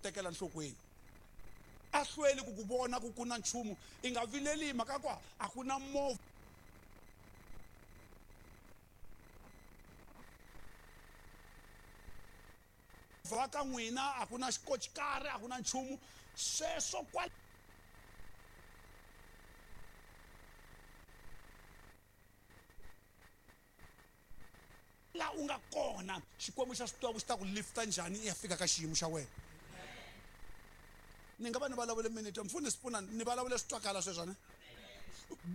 tekela nhlokweni. A hlweli ku ku vona ku ku na nchumu, i nga vileli hi mhaka ku a ku na movha ka n'wina, a ku na xikocikari, a ku na nchumu sweswo kwala la u nga kona. Xikwembu xa swi tiva ku xi ta ku lifta njhani i ya fika ka xiyimo xa wena. Ni nga va ni vulavule minute, mfundhisi pfuna ni vulavule swi twakala sweswo ne?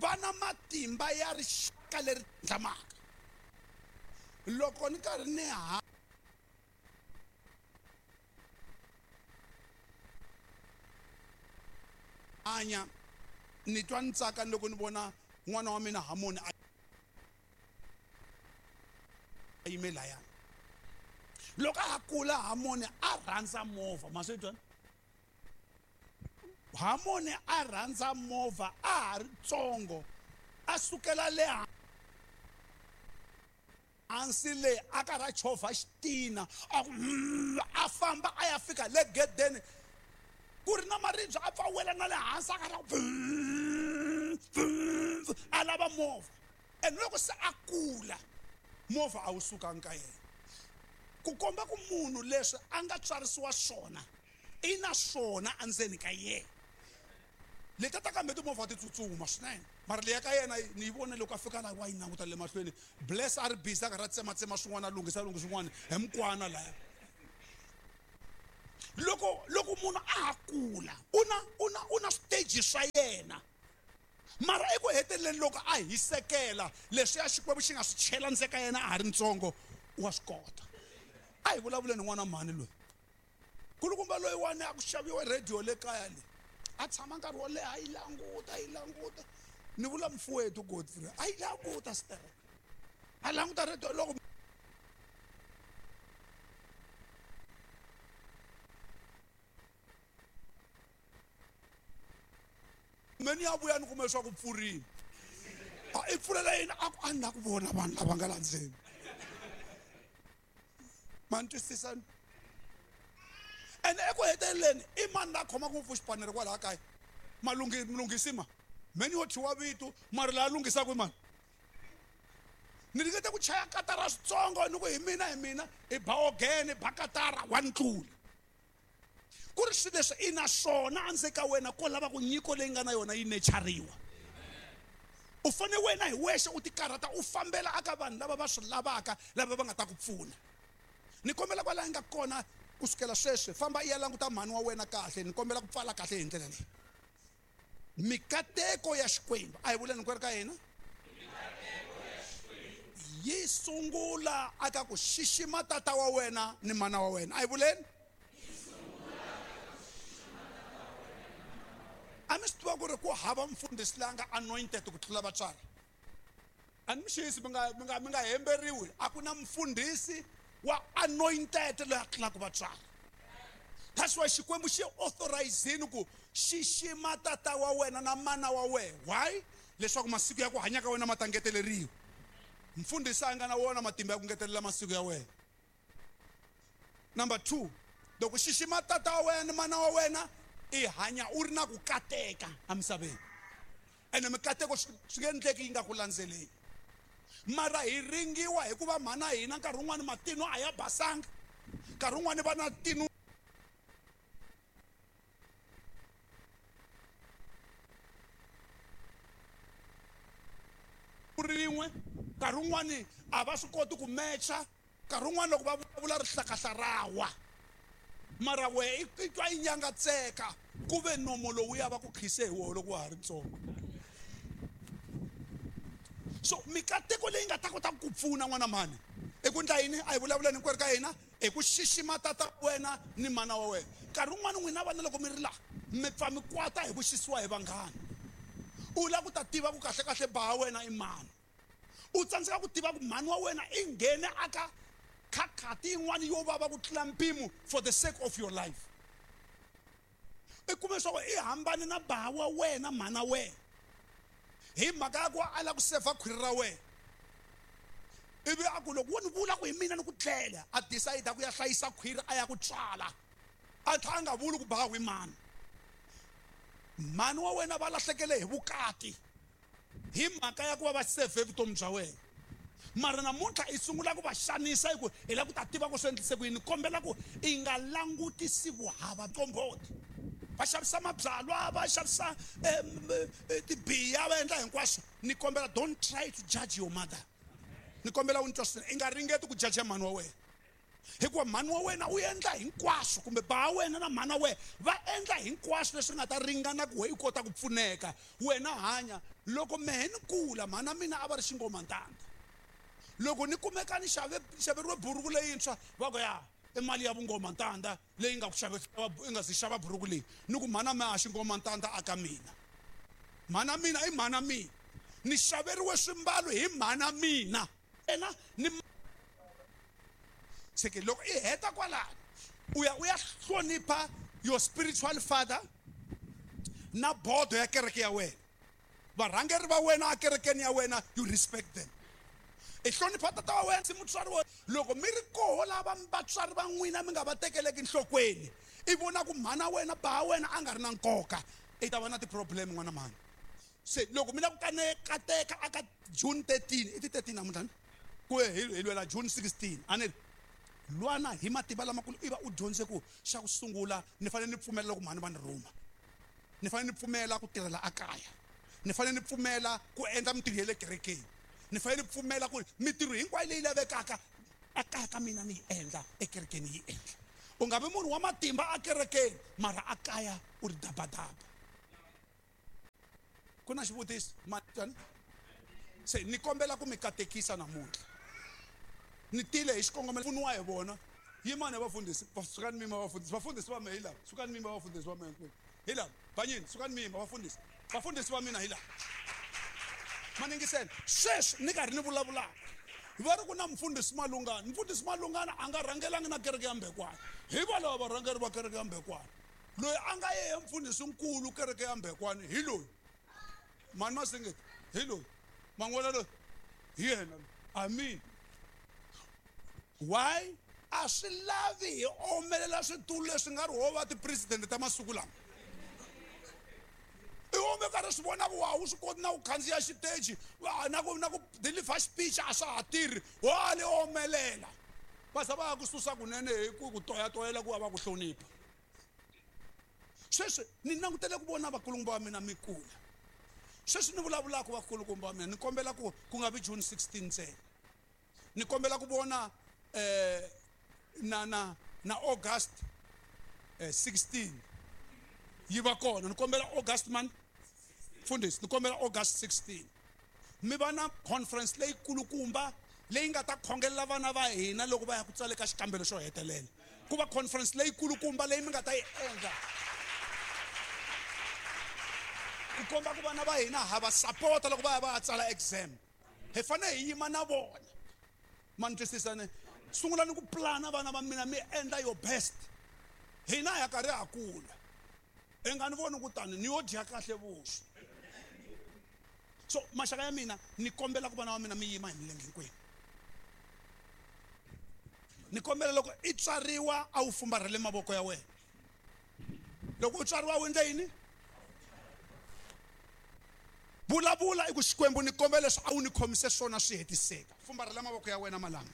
Va na matimba ya rixaka leri tlhandlamaka. Loko ni karhi ni hanya ni twa ni tsaka loko ni vona n'wana wa mina Hamoni a yime laya. Loko a ha kula Hamoni a rhandza movha, ma swi twa? Hamoni a rhandza movha a ha ri tsongo, a sukela le hansi le a karhi a chovha xitina, a ku a famba a ya fika le gedeni ku ri na maribye, a pfa wela na le hansi a karhi a a lava movha. And loko se a kula movha a wu sukangi ka yena, ku komba ku munhu leswi a nga tswarisiwa swona i na swona endzeni ka yena. Leti ta kambe timovha ti tsutsuma swinene, mara leya ka yena ni yi vone loko a fika laha wa yi languta le mahlweni. Bless a ri busy a karhi a tsematsema swin'wana, a lunghisa lunghisa swin'wana hi mukwana laya. Loko loko munhu a ha kula u na u na u na stage swa yena, mara eku heteleleni loko a hisekela leswiya Xikwembu xi nga swi chela ndzeni ka yena a ha ri ntsongo, wa swi kota. A hi vulavuleni n'wana mhani loyi kulukumba loyiwani a ku xaviwe radio le kaya le, a tshama nkarhi wo leha a yi languta, a yi languta. Ni vula mfuwethu Godfrey, a yi languta sterek, a languta radio loko me ni ya vuya ni kume leswaku pfurini. A i pfulela yini? A ku a ni la ku vona vanhu lava nga la ndzeni. Ma ni twisisa? Ene eku heteleleni i mani la khomaka ngopfu xipanere kwalaha kaya? Malunghi mulunghisi ma me ni yo thyiwa vito, mara laha lunghisaka i mani? Ni ringete ku chaya katara switsongo ni ku hi mina, hi mina i ba ogene, ba katara wa ni tlula. Ku ri swilo leswi i na swona endzeni ka wena, ko lava ku nyiko leyi nga na yona yi nechariwa. U fanele wena hi wexe u tikarhata u fambela aka vanhu lava va swi lavaka, lava va nga ta ku pfuna. Ni kombela kwalaho nga kona kusukela sweswi, famba i ya languta mhani wa wena kahle. Ni kombela ku pfala kahle hi ndlela leyi. Mikateko ya Xikwembu, a hi vuleni hinkwerhu ka hina, yi sungula aka ku xixima tata wa wena ni mana wa wena. A hi vuleni. A mi swi tiva ku ri ku hava mfundhisi la nga anointed ku tlula vatswari? A ni mi xisi, mi nga mi nga mi nga hemberiwi. A ku na mfundhisi wa anointed loyi a tlulaka vatswari. That's why Xikwembu xi authorizini ku xixima tata wa wena na mana wa wena. Why? Leswaku masiku ya ku hanya ka wena ma ta ngeteleriwa. Mfundhisi a nga na wona matimba ya ku ngetelela masiku ya wena. Number 2, loko xixima tata wa wena ni mana wa wena, i hanya u ri na ku kateka emisaveni. Ene mikateko swi nge endleki yi nga ku landzeleli. Mara hi ringiwa hikuva mhana hina nkarhi wun'wani matino a ya basanga, nkarhi wun'wani va na tino rin'we, nkarhi wun'wani a va swi koti ku mecha, nkarhi wun'wani loko va vulavula rihlakahla ra wa. Mara wehe i twa yi nyangatseka ku ve nomo lowu ya va ku khise hi woho loko wa ha ri ntsongo. So mikateko leyi nga ta kota ku pfuna n'wana mhani i ku ndla yini? A hi vulavuleni hinkwerhu ka hina hi ku xixima tata wa wena ni mana wa wena. Nkarhi wun'wani n'wina vana loko mi ri laha mi pfa mi kwata hi ku xisiwa hi vanghana. U lava ku ta tiva ku kahlekahle ba wena i mani. U tsandzeka ku tiva ku mhani wa wena i nghene aka khakhati yin'wana yo vava ku tlula mpimo for the sake of your life. I kume leswaku i hambane na ba wa wena mhana wena hi mhaka ya ku a lava ku sevha khwiri ra wena. Ivi a ku loko wo ni vula ku hi mina ni ku dlele, a decide ku ya hlayisa khwiri a ya ku tswala. A tlhela a nga vuli ku bawi mani. Mhani wa wena va lahlekele hi vukati hi mhaka ya ku va va save vutomi bya wena. Mara namuntlha i sungula ku va xanisa hi ku hi lava ku ta tiva ku swi endlise ku yini. Kombela ku i nga langutisi vuhava qomboti. Va xavisa mabyalwa, va xavisa tibiya, va endla hinkwaswo. Ni kombela don't try to judge your mother. Ni kombela u ni twa swinene, i nga ringeti ku judge mhani wa wena. Hikuva mhani wa wena u endla hinkwaswo, kumbe ba wena na mhana wena va endla hinkwaswo leswi nga ta ringana ku we i kota ku pfuneka. Wena hanya. Loko mehe ni kula, mhana mina a va ri xingomantanda. Loko ni kumeka ni xaveriwe buruku leyintshwa, va ku ya i mali ya vungomantanda leyi nga ku i nga zi xava buruku leyi. Ni ku mhana mina a xingomantanda aka mina. Mhana mina i mhana mina. Ni xaveriwe swimbalo hi mhana mina. Ena ni seke loko i heta kwalano u ya u ya hlonipha your spiritual father na bodo ya kereke ya wena. Varhangeri va wena ekerekeni ya wena, you respect them. I hlonipha tata wa wena, si mutswari wa loko mi ri koho lava vatswari va n'wina mi nga va tekeleki nhlokweni, i vona ku mhana wena ba wena a nga ri na nkoka, i ta va na ti-problem n'wana mhani. Se loko mi lava ku kateka aka June 13, i ti 13 namuntlha ni? Ku hi lwela June 16, a ni ri lwana hi matimba lamakulu, i va u dyondze ku xa ku sungula ni fanele ni pfumela loko mhani va ni rhuma, ni fanele ni pfumela ku tirhela akaya, ni fanele ni pfumela ku endla mintirho ya le kerekeni, ni fanele ni pfumela ku mintirho hinkwayo leyi lavekaka ekaya ka mina ni yi endla, ekerekeni yi endla. U nga vi munhu wa matimba akerekeni mara akaya u ri dabadaba. Ku na xivutiso mani? Se ni kombela ku mi katekisa namuntlha. Ni tile hi xikongomelo pfuniwa hi vona. Yimani vafundhisi, sukani mima vafundhisi, vafundhisi va mina hi lava, sukani mima vafundhisi va mina hinkwenu. Hi lava, banyini, sukani mima vafundhisi, vafundhisi va mina hi lava. Maningiseni, sweswi ni karhi ni vulavulaka. Va ri ku na mufundhisi Malungana, mufundhisi Malungana a nga rhangelangi na kereke ya Mbekwana. Hi valava varhangeri va kereke ya Mbekwana. Loyi a nga yehe mufundhisi nkulu kereke ya Mbekwana hi loyi. Mani Masingita hi loyi. Man'wana loyi hi yena loyi. Amen. Why? A swi lavi hi omelela switulu leswi nga ri ho va ti-president ta masiku lama. I ome karhi swi vona ku wa wu swi koti na ku khandziya xiteji, na ku na ku deliver speech a swa ha tirhi, wa le omelela. Va za va ya ku susa kunene hi ku ku toyatoyela ku va va ku hlonipha. Sweswi ni langutele ku vona vakulukumba va mina mi kula. Sweswi ni vulavulaka vakulukumba va mina, ni kombela ku ku nga vi June 16 ntsena. Ni kombela ku vona na na na August 16 yi va kona. Ni kombela August man mfundhisi, ni kombela August 16 mi va na conference leyi kulukumba leyi nga ta khongelela vana va hina loko va ya ku tsala ka xikambelo xo hetelela. Ku va conference leyi kulukumba leyi mi nga ta yi endla ku komba ku vana va hina ha va sapota loko va ya va ya tsala exam. Hi fanele hi yima na vona. Ma ni twisisa ne? Sungula ni ku plana vana va mina, mi endla your best. Hina ha karhi ha kula. I nga ni voni ku tani ni yo dya kahle vuswa. So maxaka ya mina, ni kombela ku vana va mina mi yima hi milenge hinkwenu. Ni kombela loko i tswariwa a wu fumbarhele mavoko ya wena. Loko u tswariwa u endle yini? Vulavula i ku Xikwembu ni kombela leswi a wu ni khomise swona swi hetiseka. Fumbarhela mavoko ya wena malama.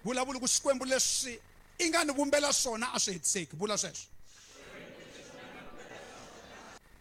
Vulavula ku Xikwembu leswi i nga ni vumbela swona a swi hetiseki. Vula sweswo.